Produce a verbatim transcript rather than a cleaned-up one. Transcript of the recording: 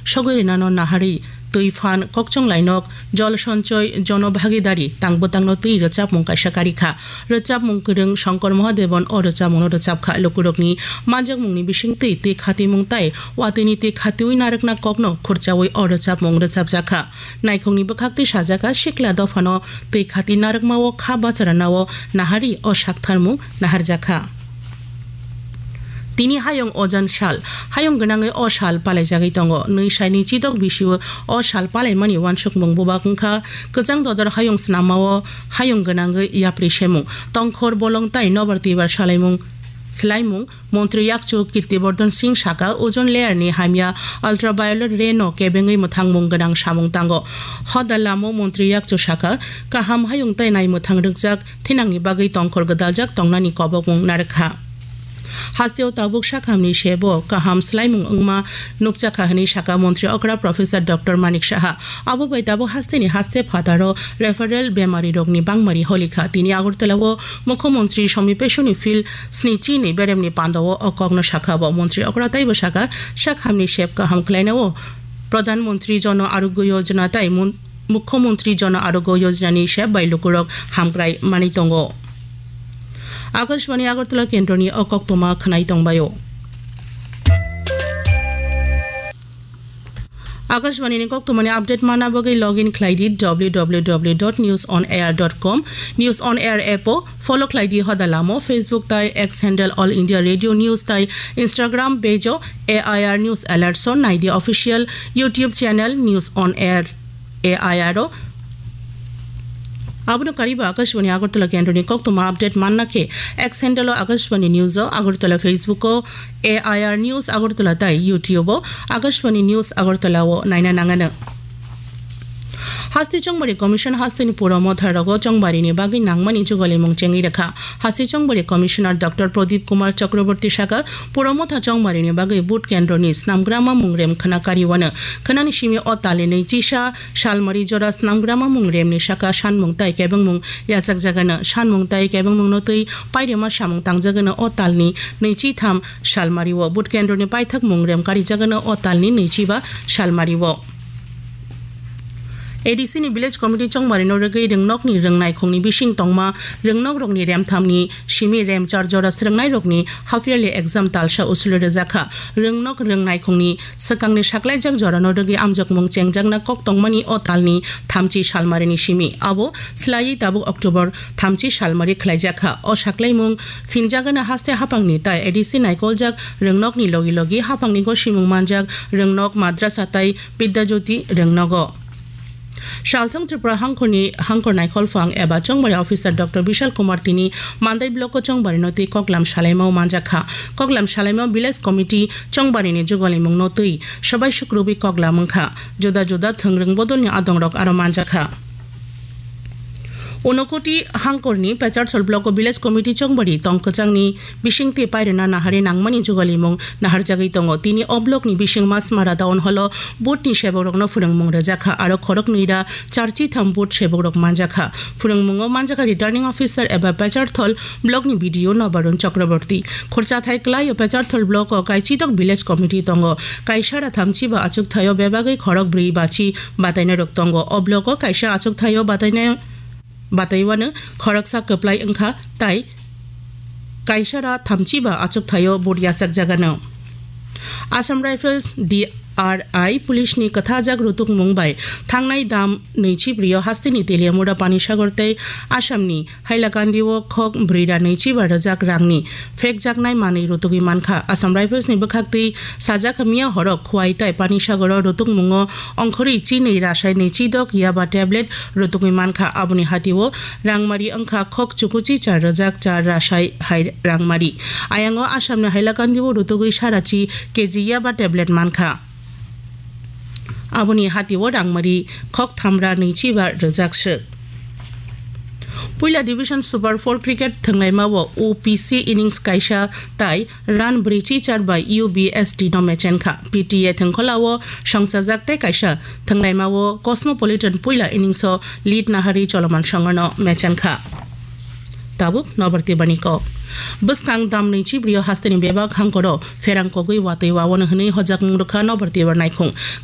sogwi rinano naharwi twi phan kokchong lainok Jol Sanchoy Jono Bhagidari tang bwtangno twi rwchapmung kaisa karikha. Rwchapmung kwrwng Shankar Mahadevon o rwchapmungno rwchapkha. Lukurokni manjakmungni bisingtwi twi khatimung tai watwini twi khatiwi narwkna kokno khurchawi o rwchapmung rwchapjakha. Naikhungni bwkhaktwi sajaka sikla dophano twi khati narwkmao kha bacharanao naharwi o saktharmung naharjakha. Tini hayung ojan sal, hayung gwnangwi o sal palaijagwi tongo. Nwi saini chidok bisio o sal palaimani uansukmung bubak wngkha kwchang dodor hayung snamao hayung gwnangwi yapri semung, tongkhor bolong tai nobar twibar salaimung, swlaimung. Montri yakchu Kirtibardhan Singh saka, ozone layer ni hamya ultraviolet ray no kebengwi mwthangmung gwnang samung tango. Hoda lamo montri yakchu saka, kaham hayung tai nai mwthang rwkjak thinangni bagwi tongkhor gwdaljak tongnani kobokmung narwkha. Hasteo tabuk sakhamni sebo kaham swlaimung wngma nukjakha hwnwi saka montri okra Professor Doctor Manik Saha. Abo bai tabuk hasteni haste phataro referral bemarirokni bangmari holikha. Tini Agartala-o Mukhyamantri Somi Pesoni Field snichi ni beremni pandao o kokno sakha bo. Montri okra taibo saka, sakhamni sep kaham khlainao Pradhan Mantri Jana Arogya Yojana tai Mon-, Mukhyamantri Jana Arogya Yojana ni sep bai lukurok hamkrai manwi tongo. Akashbani Agartala kendroni o koktoma khwnai tongbaio. Akashbani ni koktoma ni update manna bagwi login khlai di w w w dot news on air dot com, News on Air app o follow khlai di hoda lamo, Facebook tai X handle All India Radio News tai Instagram page o A I R News Alerts o nai di official YouTube channel News on Air A I R o. Abono kariba Akashbani Agartala kendroni koktoma update manna khe X handle o Akashbani News o, Agartala Facebook o A I R News Agartala tai YouTube o Akashbani News Agartala o naina nangano. Haste Chongbari Commission hasteni pura motha rogo chongbarini bagwi nangmani jugalimung chengwi rwkha. Haste Chongbari Commissioner Doctor Pradip Kumar Chakraborty saka, pura motha chongbarini bagwi vote kendroni snamgrama mungrem khna kariwano. Khnani simi o talni nwi chisa Salmari jora snamgrama mungremni saka sanmung tai kebengmung yachakjagano. Sanmung tai kebengmungno twi pairima samung tangjagano o talni nwi chi tham Salmari o. Vote kendroni paithak mungrem karijagano o talni nwi chi ba Salmari o. A D C ni Village Committee chongbarino rwgwi rwngnokni rwngnaikhungni bising tongma rwngnokrokni remthamni simi remchar jora srwngnairokni half yearly exam talsa usuli rwjakha. Rwngnok rwngnaikhungni swkangni saklaijak jorano rwgwi amjokmung chengjakna kok tongmani o talni thamchi Salmarini simi. Abo swlaiwi tabuk October thamchi Salmari khlaijakha. O saklaimung phinjagano haste haphangni tai A D C naikoljak rwngnokni logi logi haphangni gosimung manjak rwngnok, madrasa tai Bidya Jyoti rwngnogo. Salthang Tripura hangkhorni hangkhor naikhol phang eba chongbari officer Doctor Bishal Kumar tini Mandai block o chongbarino twi koklam salaimao manjakha. Koklam salaimao village committee chongbarini jugalimungno twi swbai sukrubwi koklam wngkha. Juda juda thwngrwng bodolni adongrok aro manjakha. Unokoti hangkorni Pecharthal block o village committee chongbari tong kwchangni bisingtwi pairwna nahari nangmani jugalimung naharjagwi tongo. Tini o blockni bising Masmara town hall o booth ni sebokrokno phwrwngmung rwjakha, aro khoroknwi ra charchi tham booth sebokrok manjakha. Phwrwngmungo manjakha returning officer eba Pecharthal blockni B D O Nobarun Chakraborty. Khorchathai kwlaio Pecharthal block o kaichidok village committee tongo. Kaisa ra thamchi ba achukthai o bebagwi khorok brwi bachi batainairok tongo. O block o kaisa achukthai o batainai bataiwano khoroksa kwplai wngkha, tai kaisa ra thamchi ba achukthai o booth yachakjagano. Assam Rifles D R I police ni kwthajak rutukmung bai thangnai dam nwichi brio hasteni Teliamura Panisagar tei Assam ni Hailakandi o khok brwi ra nwichi ba rwjak rang ni phekjaknai manwi rutugwi mankha. Assam Rifles ni bwkhaktwi sajak miya horo Khwai tai Panisagar o rutukmungo ongkhorwi chinwi rasai nwichi dok yaba tablet rutugwi mankha. Aboni hatio rangmari wngkha khok chukuchi char rwjak char rasai hai rangmari. Ayango Assam ni Hailakandi o rutugwi sarachi K G yaba tablet mankha. Aboni hatio rangmari khok thamra nwichi ba rwjak swk. Puila Division Super four Cricket thwnglaimao U P C innings kaisa tai run brwichi char bai U B S T no mechenkha. P T A thwngkholao songchajak tei kaisa thwnglaimao Cosmopolitan puila innings o lead nahari Choloman Songorno mechenkha. Tabuk Nobar Tibar ni kok. Bwskang dam nwichi brio hasteni bebak hangkoro pherang kogwi watwi wawano hwnwi hojakmung rwkha Nobar Tibar naikhung.